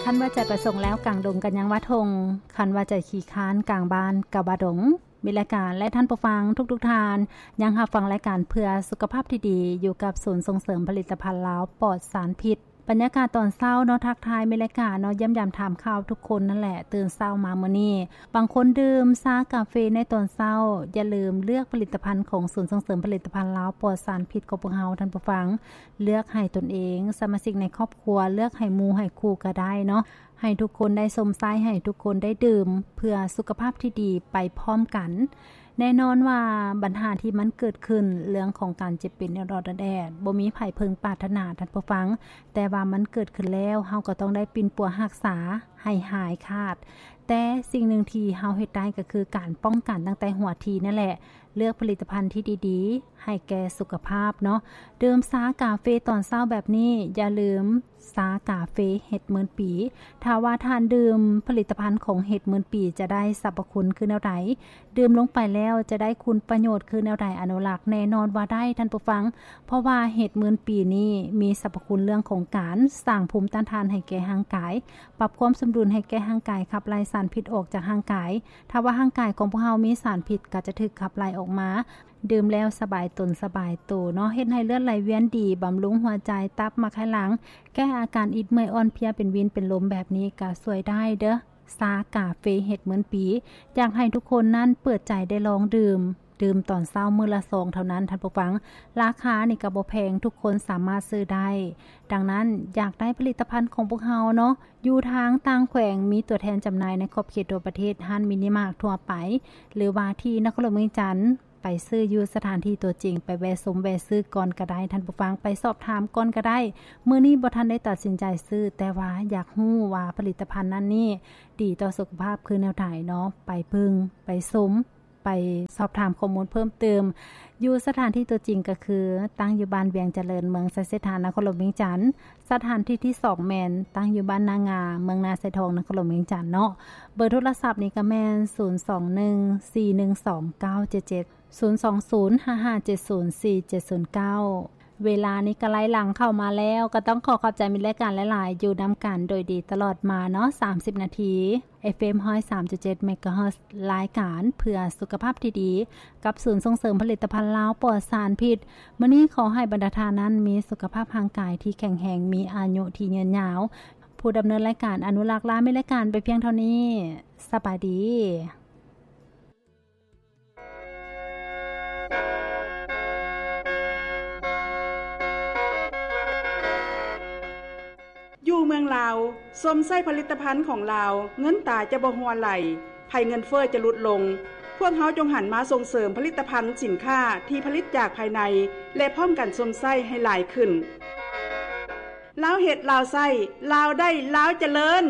ຄັນວ່າໃຈປະສົງແລ້ວ ກາງດົງກໍຍັງວ່າທົ່ງ, ຄັນວ່າໃຈຂີ້ຄ້ານ ກາງບ້ານກໍວ່າດົງ. ມິດລາຍການ ແລະ ທ່ານຜູ້ຟັງທຸກໆທ່ານ ຍັງຮັບຟັງລາຍການເພື່ອສຸຂະພາບທີ່ດີ ຢູ່ກັບສູນສົ່ງເສີມຜະລິດຕະພັນລາວປອດສານພິດ. ບັນຍາກາດຕອນເຊົ້າເນາະ ທັກທາຍມິດລາຍການເນາະ ຢ້ຽມຢາມຖາມຂ່າວທຸກຄົນນັ້ນແຫຼະ. ຕື່ນເຊົ້າມາມື້ນີ້ ບາງຄົນດື່ມຊາກາເຟໃນຕອນເຊົ້າ. ຢ່າລືມເລືອກຜະລິດຕະພັນຂອງສູນສົ່ງເສີມຜະລິດຕະພັນລາວປອດສານພິດຂອງພວກເຮົາ, ທ່ານຜູ້ຟັງ. ເລືອກໃຫ້ຕົນເອງ, ສະມາຊິກໃນຄອບຄົວ, ເລືອກໃຫ້ໝູ່ໃຫ້ຄູ່ກໍໄດ້ເນາະ. ໃຫ້ທຸກຄົນໄດ້ຊົມໃຊ້, ໃຫ້ທຸກຄົນໄດ້ດື່ມ ເພື່ອສຸຂະພາບທີ່ດີໄປພ້ອມກັນ. ແນ່ນອນວ່າບັນຫາທີ່ມັນເກີດຂຶ້ນ ເລື່ອງຂອງການເຈັບເປັນອອດໆແອດໆ ບໍ່ມີໃຜເພິ່ງປາດຖະໜາ, ທ່ານຜູ້ຟັງ. ແຕ່ວ່າມັນເກີດຂຶ້ນແລ້ວ, ເຮົາກໍຕ້ອງໄດ້ປິ່ນປົວຮັກສາໃຫ້ຫາຍຂາດ. ແຕ່ສິ່ງໜຶ່ງທີ່ເຮົາເຮັດໄດ້ກໍຄືການປ້ອງກັນຕັ້ງແຕ່ຫົວທີນັ້ນແຫຼະ. ເລືອກຜະລິດຕະພັນທີ່ດີໆ ໃຫ້ແກ່ສຸຂະພາບເນາະ. ດື່ມຊາກາເຟຕອນເຊົ້າແບບນີ້, ຢ່າລືມຊາກາເຟເຫັດໝື່ນປີ. ຖ້າວ່າທ່ານດື່ມຜະລິດຕະພັນຂອງເຫັດໝື່ນປີ ຈະໄດ້ສັບພະຄຸນຄືແນວໃດ? ດື່ມລົງໄປແລ້ວຈະໄດ້ຄຸນປະໂຫຍດຄືແນວໃດ? ອະນຸລັກແນ່ນອນວ່າໄດ້, ທ່ານຜູ້ຟັງ. ເພາະວ່າເຫັດໝື່ນປີນີ້ມີສັບພະຄຸນເລື່ອງຂອງການສ້າງພູມຕ້ານທານໃຫ້ແກ່ຮ່າງກາຍ, ປັບຄວາມສົມດຸນໃຫ້ແກ່ຮ່າງກາຍ, ຂັບໄລ່ສານພິດອອກຈາກຮ່າງກາຍ. ຖ້າວ່າຮ່າງກາຍຂອງພວກເຮົາມີສານພິດ ກໍຈະຖືກຂັບໄລ່ອອກມາ. ດື່ມແລ້ວສະບາຍຕົນສະບາຍໂຕເນາະ, ເຮັດໃຫ້ເລືອດໄຫຼວຽນດີ, ບຳລຸງຫົວໃຈ, ຕັບ, ໝາກໄຂ່ຫຼັງ, ແກ້ອາການອິດເມື່ອຍ, ອ່ອນເພຍ, ເປັນວິນເປັນລົມແບບນີ້ ກໍຊ່ວຍໄດ້ເດີ້. ຊາກາເຟເຫັດໝື່ນປີ ຢາກໃຫ້ທຸກຄົນນັ້ນເປີດໃຈໄດ້ລອງດື່ມ. ດື່ມຕອນເຊົ້າມື້ລະຊອງເທົ່ານັ້ນ, ທ່ານຜູ້ຟັງ. ລາຄານີ້ກໍບໍ່ແພງ, ທຸກຄົນສາມາດຊື້ໄດ້. ດັ່ງນັ້ນ, ຢາກໄດ້ຜະລິດຕະພັນຂອງພວກເຮົາເນາະ, ຢູ່ທາງຕ່າງແຂວງມີຕົວແທນຈຳໜ່າຍໃນຂອບເຂດທົ່ວປະເທດ, ຮ້ານມິນິມາກທົ່ວໄປ ຫຼືວ່າທີ່ນະຄອນຫຼວງວຽງຈັນ, ໄປຊື້ຢູ່ສະຖານທີ່ຕົວຈິງ, ໄປແວະຊົມແວະຊື້ກ່ອນກໍໄດ້, ທ່ານຜູ້ຟັງ, ໄປສອບຖາມກ່ອນກໍໄດ້. ມື້ນີ້ບໍ່ທັນໄດ້ຕັດສິນໃຈຊື້, ແຕ່ວ່າຢາກຮູ້ວ່າຜະລິດຕະພັນນັ້ນນີ້ດີຕໍ່ສຸຂະພາບຄືແນວໃດເນາະ, ໄປເບິ່ງ, ໄປຊົມ, ໄປສອບຖາມຂໍ້ມູນເພີ່ມເຕີມ. ຢູ່ສະຖານທີ່ຕົວຈິງກໍຄື ຕັ້ງຢູ່ບ້ານວຽງຈະເລີນ, ເມືອງໄຊເສດຖາ, ນະຄອນຫຼວງວຽງຈັນ. ສະຖານທີ່ທີສອງແມ່ນຕັ້ງຢູ່ບ້ານນາງາ, ເມືອງນາຊາຍທອງ, ນະຄອນຫຼວງວຽງຈັນເນາະ. ເບີໂທລະສັບນີ້ກໍແມ່ນ ສູນສອງໜຶ່ງ ສີ່ໜຶ່ງສອງ ເກົ້າເຈັດເຈັດ, ສູນສອງສູນ ຫ້າຫ້າເຈັດສູນ ສີ່ເຈັດສູນເກົ້າ. ເວລານີ້ກໍໄລ່ຫຼັງເຂົ້າມາແລ້ວ, ກໍຕ້ອງຂໍຂອບໃຈມິດລາຍການຫຼາຍໆ, ຢູ່ນຳກັນໂດຍດີຕະຫຼອດມາເນາະ ສາມສິບນາທີ. ເອັຟເອັມ ຮ້ອຍສາມຈຸດເຈັດ ເມກາເຮີດ, ລາຍການເພື່ອສຸຂະພາບທີ່ດີ ກັບສູນສົ່ງເສີມຜະລິດຕະພັນລາວປອດສານພິດ. ມື້ນີ້ຂໍໃຫ້ບັນດາທ່ານນັ້ນມີສຸຂະພາບຮ່າງກາຍທີ່ແຂງແຮງ, ມີອາຍຸທີ່ຍືນຍາວ. ຜູ້ດຳເນີນລາຍການ ອະນຸລັກ ລາມິດລາຍການໄປພຽງເທົ່ານີ້. ສະບາຍດີ. ຢູ່ເມືອງລາວ, ຊົມໃຊ້ຜະລິດຕະພັນຂອງລາວ, ເງິນຕາຈະບໍ່ຮົ່ວໄຫຼ, ໄພເງິນເຟີ້ຈະຫຼຸດລົງ. ພວກເຮົາຈົ່ງຫັນມາສົ່ງເສີມຜະລິດຕະພັນສິນຄ້າທີ່ຜະລິດຈາກພາຍໃນ ແລະ ພ້ອມກັນຊົມໃຊ້ໃຫ້ຫຼາຍຂຶ້ນ. ລາວເຮັດ, ລາວໃຊ້, ລາວໄດ້, ລາວຈະເລີນ.